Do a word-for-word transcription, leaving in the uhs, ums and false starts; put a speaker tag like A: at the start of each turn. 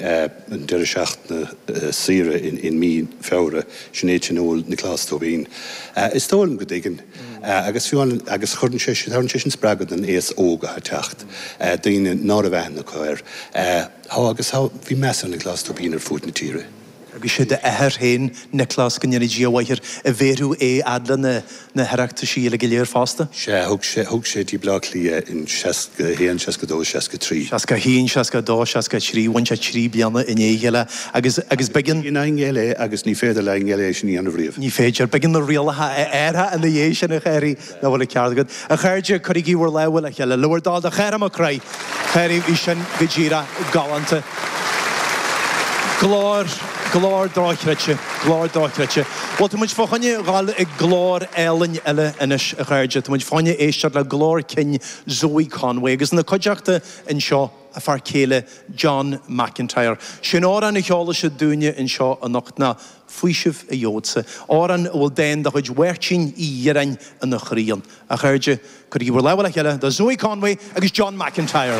A: An deireadh seachtaine saoire in mí Feabhra, sin é tionól Nioclás Tóibín. Is dóigh liom go dtuigeann, agus fiú amháin, agus cuireann sé, tabharann sé sin spreagadh don aos óg atá ag teacht, daoine ná raibh aithne acu air. Tá, agus tá, bhí meas ar Nioclás Tóibín ar fud na tíre.
B: Agus sé d'athair féin, Nioclás, go ndéana Dia a mhaith air, a bhéarfadh é fhad le na na hOireachtaisí uilig go léir fosta.
A: Sea, thug sé, thug sé dtí Bleá Cliath in seasca a haon, seasca a dó, seasca a trí.
B: Seasca a haon, seasca a dó, seasca a trí, bhain sé trí bliana i ndiaidh a chéile agus, agus b'éigean.
A: Ní aingéal é agus ní féidir le haingéal é sin a dhéanamh riamh.
B: Ní féidir. B'éigean na rialacha a athrú ina dhiaidh sin, a Chárthaigh, nach bhfuil an ceart agat. A chairde, cuirigí bhur lámha le chéile, le bhur dtoil do Chárthach Mac Craith. Cárthaigh, bhí sin go díreach galánta. Glór, glór dochreidte, glór dochreidte. Bhuel, tá muid fá choinne dhul ag glór álainn eile anois, a chairde. Tá muid fá choinne éisteacht le glór cinn Zoe Conway agus ina cuideachta anseo a fear céile John McIntyre. Sé'n amhrán a cheolfaidh siad dúinne anseo anocht ná Faoiseamh a Gheobhadsa, amhrán a bhfuil dán de chuid Mháirtín Uí Dhireáin ina chroí ann. A chairde, cuirigí bhur lámha le chéile do Zoe Conway agus John McIntyre.